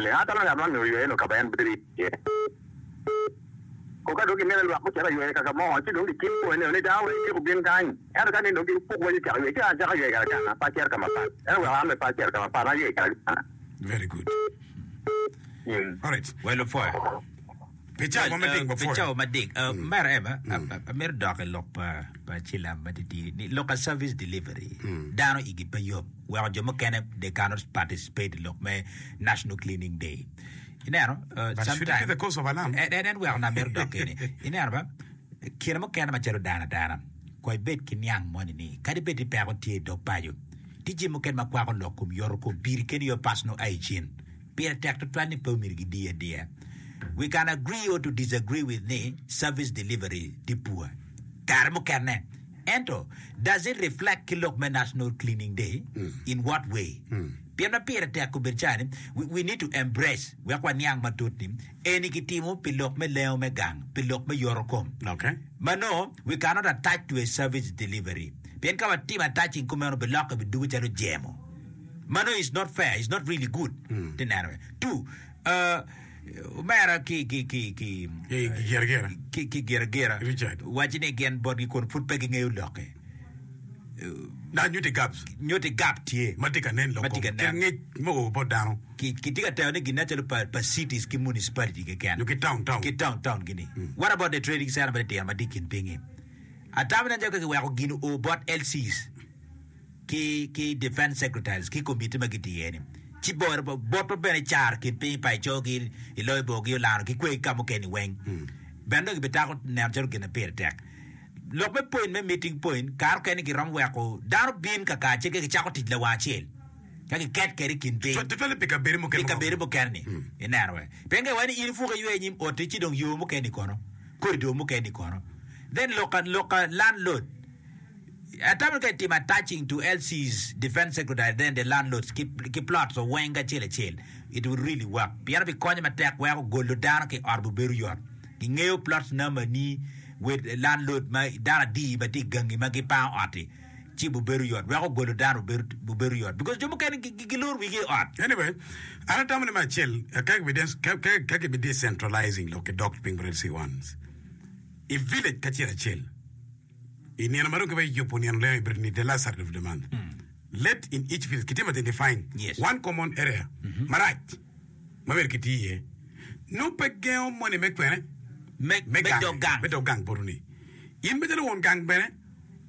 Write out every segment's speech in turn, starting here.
leng. Atamo ni ngat man myero oywe nongo ka ma en bedo iye. Ko ka dong gimito ni lwak gucit ka ywe kaka mo, ci dong gicimo pwony ni dano weng tyeko bin kany. Ento ka ni dong gipuk wa gicako ywe, ci an acako ywe kara ganga, pe acito ka mapat. Ento weko an bene pe acito ka mapat, an aywe kara ganga. Very good. Alright. Well, opwoyo. Pi cawa ma mading Pi wapwoyo. cawa mading. Uh, Mera Eva, amito dok i lok pa pa Cilam matitidi ni lok a service delivery. Dano igi pe yom weko jo mukene they cannot participate i lok me National Cleaning Day. Ineno, uh, But should it be the cause of alarm? En, en, en weko na amito dok keni. Ineno ba, kine mukene macalo dano adana, kong ibed ki niang moni ni kadi bed ni peko tye i dog paco, tye jami mukene ma kwako lok kom yoto kom piri keni your personal hygiene. Pire tek tutwal ni pe omyero gidii adiya. We can agree or to disagree with ni service delivery tye poor kare mukene ento does it reflect ki lok me national cleaning day in what way? Pien ma pire tek obedo cani we, we need to embrace wek waniang matut ni eni kitimo pi lok me lengo me gang pi lok me yoto kom Okay. ma nongo we cannot attach to a service delivery pien ka watimo attaching kumeno bilokke bidugo calo jemo. Mano is not fair, is not really good. Ti neno we. Two, uh, omera ki ki ki ki Ki gira gira. ki ki gira gira Richard. waci ni gin botgi kun pud pe gingeyo lokke. Na nyuti gaps Nyuti gap tye. ma tye ka nen lok Ma tye ka kom. nen. Kit ngec me o bot dano. Ki kitye ka tero ni gin nen calo pa pa cities ki municipality keken. Nyo ki town town. Ki town town gini. What about the trading center ma titino ma tye i kin pinyi? Atamo ni nen calo ka kiweko gin o bot LCs. ki ki defense secretaries ki committee ma gitye iye ni ci boro botwa bene car kin piny pa ico ki i loyo bor ki olano ki kwe ki ka mukene ni weng bene dong gibitako neno calo gin ma pire tek lok me point me meeting point kare okene giromo weko dano bin kakar ci ka gicako tic lawang acel ka giket kede i kin piny Tutwalle pi kabedo mukene pi kabedo mukene ni ineno we pien ka iwaco ni in ipuko iywe inyim oti ci dong yo mukene ni kono corridor mukene ni kono then loka loka landlord Atamo ni ka itimo attaching to LCs defense secretary then the landlords ki, ki plots weng acel acel it will really work pien obikonyo matek weko golo dano ki ot bubedo yot gingeyo plots number ni with landlord ma dano adi ma tye i gangi ma gipango ot-ti ci bubedo yot weko golo dano bubedo, bubedo yot because jo mukene giloro wigi i ot. Anyway, an atamo ni me acel ka kibi ka kibi decentralizing lok ki dok piny bot LC ones i village kacel acel I nino ma dong kibedo yubo nino leng i bedo ni the last Saturday of the month. Let in each village kitimo identifying Yes. one common area marac ma myero kiti iye. Nongo pe gengo moni me kwene Me, me me gange, dog gang. me dog gang botwu ni. In macalo won gang bene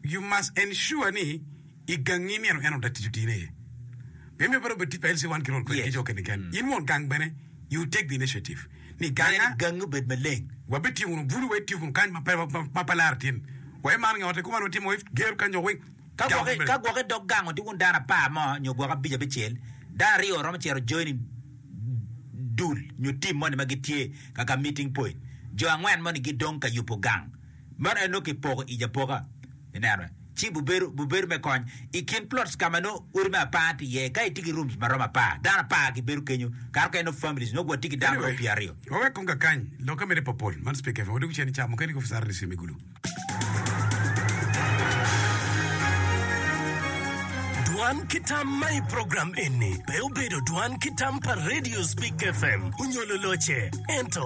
you must ensure ni i gangi nino eno da tic otine iye. Pien myero pe dong obed tic pa LC1 ki rol kwede ki Yes. jo okene keken. In won gang bene you take the initiative ni Mere ganga ni gangi obed maleng. Wabitiyo wunu bulu, wabitiyo wunu kany ma pe ma pe laro tin. Wa imaro nge otte kuman watimo wa gero kany jo weng. Ka Gang gwoki bene. ka gwoki dog gango tye wun dano apar mo nyo gwok abic abicel, dano aryo romo cito joining dul nyo team moni ma gitye ka ka meeting point. Jo angwen moni gidong ka yubo gang. Meno en nongo kipoko ic apoka. Ineno? Ci bubedo, bubedo me kony. I kin plots ka ma nongo odi me apar tye iye, ka itye ki rooms ma romo apar, dano apar gibedo kenyo, kare mukene nongo families nongo watye ki dano ma romo Anyway, pyeraryo. wawek kong kakany lokke mere popol. Man Speaker FM. Wadwogo cen i cawa mukene ki officer RDC me Gulu. Dwan ki tam ma i program eni pe obedo dwan ki tam pa Radio Speak FM onyo loloce, ento.